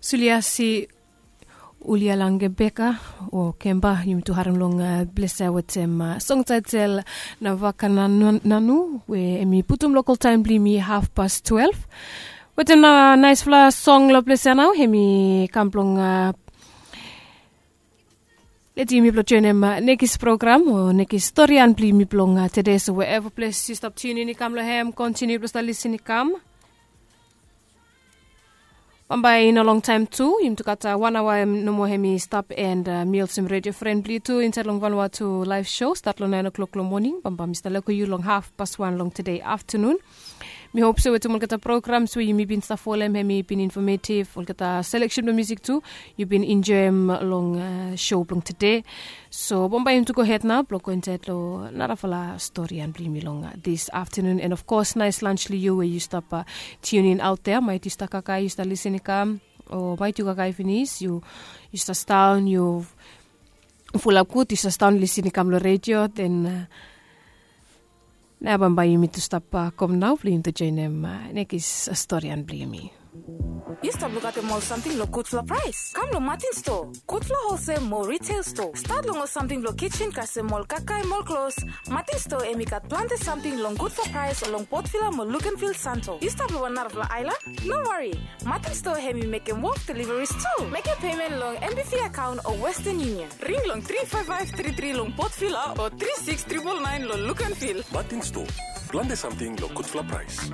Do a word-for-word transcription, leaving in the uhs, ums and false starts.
Suliasi ulialangebeka o kemba yumi tu harim long ples ya wetem song taitel na vaka nanu we em i putum lokal taem blong yumi haf pas twelve. Wetem na naispela song long ples ya nao em i kam blong leti yumi blong joenem nekis program o nekis storian blong yumi blong tede. So wherever ples yu stap tunin i kam long hem, kontiniu blong stap lisin i kam. Bambae i no longtaem tu yumi tu gat wan aoa nomo hem i stap and mi olsem redio fren blong yu tu insaed long vanua tu laef sho stat long naen o'klok long moning. Bambae mi stap leko yu long haf pas wan long tede aftanun. Mi hop se wetem olgeta programs we yumi bin stap folem hem i bin infometiv, olgeta seleksen blong musik tu yu bin enjoem long sho blong tede. So bambae yumi tu gohed nao blong go insaed long narafala storian blong yumi long dis aftanun. And of kos nais lans long yu we yu stap tiunin aot dea, maet yu stap kakae yu stap lisin i kam, o maet yu kakae finis yu stap staon yu fulap gud yu stap staon lisin i kam long redio den. Nao bambae yumi tu stap kom nao blong yumi tu joenem nekis storian blong yumi. Yu stap lukaotem ol samting long gudfala praes? Kam long Martin Store, gudfala holsel mo retail store. Stat long ol samting blong kitchen kasem ol kakae mo ol klos. Martin Store em i gat plante samting long gudfala praes long Port Vila mo Luganville, Santo. Yu stap long wan narafala aelan? No wari. Martin Store em i mekem wok deliveries tu. Mekem payment long N B V account o Western Union. Ring long three five five three three long Port Vila o three six triple nine long Luganville. Martin Store, plante samting long gudfala praes.